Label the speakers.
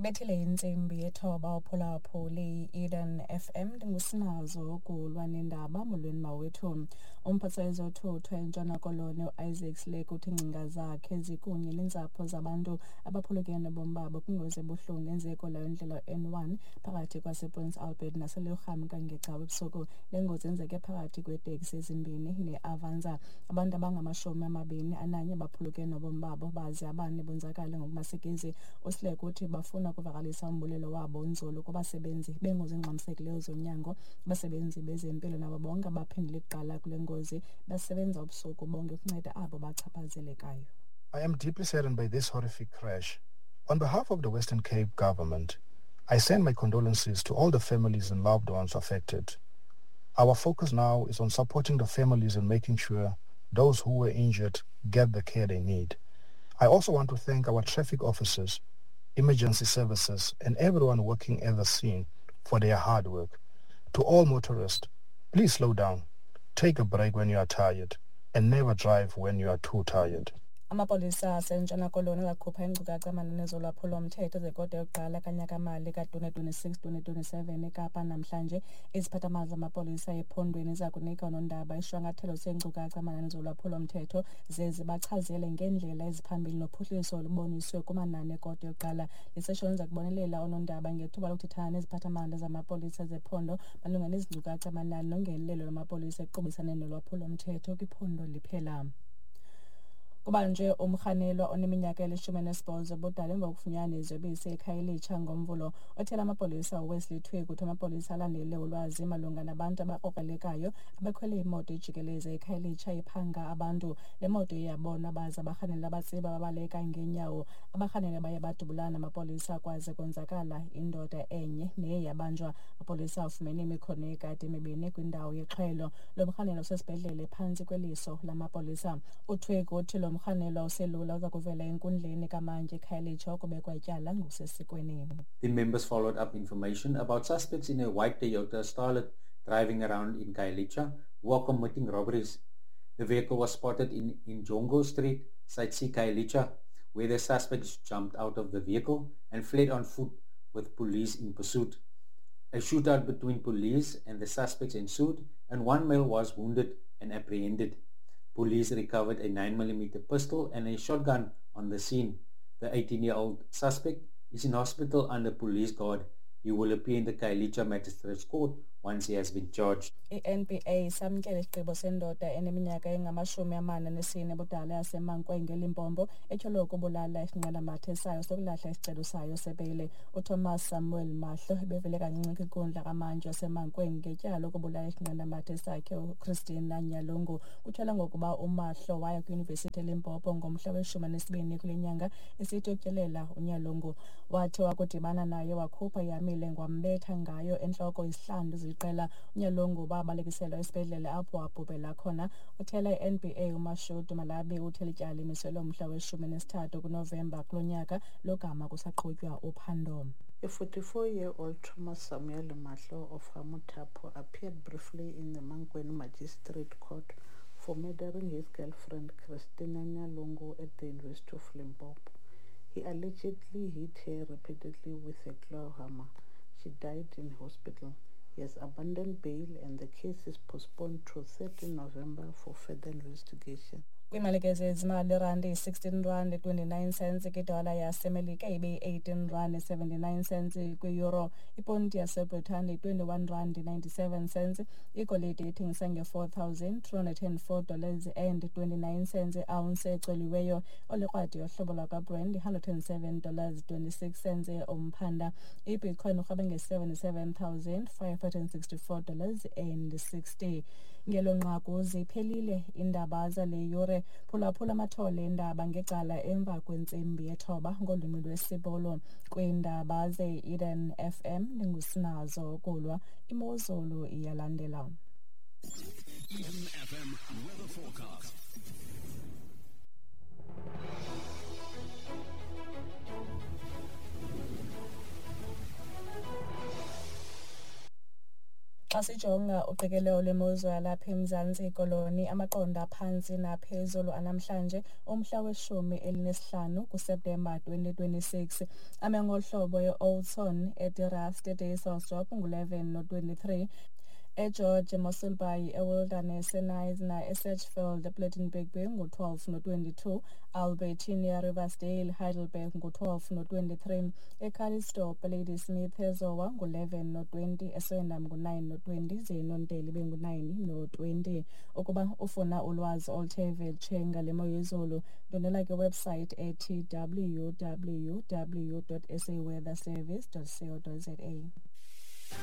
Speaker 1: Ibethile intsimbi yethoba uphulaphuli i-Eden FM. Ndingusinazo ukulwa nendaba. Molweni mawethu. Umphathiswa wezothutho eNtshona Koloni uIsaac Slake uthi iingcinga zakhe zikunye neentsapho zabantu abaphulukene nobomi babo kwingozi ebuhlungu eyenzeke leyo ndlela N1 phakathi kwasePrince Albert naseLurham ngeCawa ebusuku. Le ngozi yenzeke phakathi kweeteksi ezimbini neAvanza. Abantu abangama-21 baphulukene nobomi babo baze abane bonzakale ngokumasikizi. USlake uthi bafuna ukuvakalisa umbulelo wabo onzulu kubasebenzi beengozi ezingxamisekileyo zonyango, abasebenzi bezempilo nabo bonke abaphendule kuqala kule ngozi basebenza ubusuku bonke ukunceda abo bachaphazelekayo.
Speaker 2: I am deeply saddened by this horrific crash. On behalf of the Western Cape government, I send my condolences to all the families and loved ones affected. Our focus now is on supporting the families and making sure those who were injured get the care they need. I also want to thank our traffic officers, emergency services, and everyone working at the scene for their hard work. To all motorists, please slow down, take a break when you are tired, and never drive when you are too tired.
Speaker 1: Amapolisa aseNtshona Koloni azakhupha iinkcukacha manani zolwaphulo-mthetho zekota yokuqala kanyakamali ka-2026-2027 eKapa namhlanje. Iziphathamandla zamapolisa ephondweni ziza kunika oonondaba isishwankathelo seenkcukacha manani zolwaphulo-mthetho ze zibachazele ngeendlela eziphambili nophuhliso oluboniswe kumanani ekota yokuqala. Le seshoni iza kubonelela oonondaba ngethuba lokuthethana neziphathamandla zamapolisa zephondo malunga nezi nkcukacha manani nongenelelo lwamapolisa ekuqubisaneni nolwaphulo-mthetho kwiphondo liphela. Kubanjwe umrhanelwa oneminyaka eli-18 ubudala emva kokufunyanwa neziyobisi eKhayelitsha ngoMvulo. Othela amapolisa uWesley Twig uthi amapolisa alandele ulwazi malunga nabantu abakrokrelekayo abekhwele imoto ejikeleze eKhayelitsha iphanga abantu. Le moto iye yabonwa baza abarhanelwa batsiba babaleka ngeenyawo. Abarhanelwa baye badubulana namapolisa kwaze konzakala indoda enye neye yabanjwa. Amapolisa afumene imikhono yekati emibini kwindawo yexhwelo. Lo mrhanelwa usesibhedlele phantsi kweliso lamapolisa. UTwig uthi lo mrhanelwa uselula uza kuvela enkundleni kamantyi eKhayelitsha ukubekwa ityala ngokusesikweni.
Speaker 3: The members followed up information about suspects in a white Toyota Starlet driving around in Khayelitsha who are committing robberies. The vehicle was spotted in Njongo Street, Site C, Khayelitsha, where the suspects jumped out of the vehicle and fled on foot with police in pursuit. A shootout between police and the suspects ensued, and one male was wounded and apprehended. Police recovered a 9mm pistol and a shotgun on the scene. The 18-year-old suspect is in hospital under police guard. He will appear in the Khayelitsha Magistrates Court once he has been charged.
Speaker 1: I-NPA samkele isigqibo sendoda eneminyaka engama-44 ubudala yaseMankweng eLimpopo etyholwa ukubulala isinqandamathe sayo sokulahla isicelo sayo sebheyile. UThomas Samuel Mahlo ebevele kancinci kwinkundla kamantyi waseMankweng ngetyala lokubulala isinqandamathe sakhe uChristina Nyalungu. Kutyholwa ngokuba uMahlo waya kwiyunivesithi eLimpopo ngomhla we-12 kule nyanga esithi utyelela uNyalungu. Wathi wakudibana naye wakhupha ihamile wambetha ngayo entloko izihlandlo ziliqela. UNyalungu wabalekiselwa esibhedlele apho wabhubhela khona. Uthela i-NPA uMashudu Malabi uthi eli tyala limiselwe umhla we-13 kuNovemba kulo nyaka logama kusaqhutywa uphando.
Speaker 4: A 44-year-old Thomas Samuel Mahlo of Hamutapo appeared briefly in the Mankweng Magistrate Court for murdering his girlfriend Christina Nyalungu at the University of Limpopo. He allegedly hit her repeatedly with a claw hammer. She died in hospital. He has abandoned bail and the case is postponed to 13 November for further investigation.
Speaker 1: Kwiimalike zezimali, irandi yi-16 rand 29 cents kwidola yaseMelika, ibe yi-18 rand 79 cents kwiyuro. Iponti yaseBritane yi-21 rand 97 cents. Igolide ithengisa nge-$4,204 dollars and 29 cents iounce ecoliweyo. Olikrwada yohlobo lwakwaBrent yi-$107 dollars 26 cents umphanda. Ibitcoin urhwebe nge-$77,564 dollars and 60. Ngelo nqaku ziphelile iindaba zale yure. Phulaphula amathole eendaba ngecala emva kwentsimbi yethoba ngolwimi lwesiBhulu. Kwiindaba ze-Eden FM ndingusinazo Kulwa. Imozulu iyalandela.
Speaker 5: Eden FM weather forecast.
Speaker 1: Xa sijonga uqikelelo lwemozulu yalapha eMzantsi Koloni, amaqondo aphantsi naphezulu anamhlanje umhla we-15 kuSeptemba 2026 ame ngolu hlobo: e-Oudtshoorn, eDe-Rust, eDysselsdorp ngu-11 no-23, eGeorge, eMossel Bay, eWilderness, eKnysna, eSedgefield, ePlettenberg Bay ngu-12 no-22, Albertinia, Riversdale, Heidelberg ngu-12 no-23, eCalitzdorp, Ladysmith, eZowa ngu-11 no-20, eSwendam ngu-9 no-20, ze iNonteli ibe ngu-9 no-20. Ukuba ufuna ulwazi oluthe vetshe ngale mo yezulu, ndwendwela kwiwebsite ethi www.saweatherservice.co.za.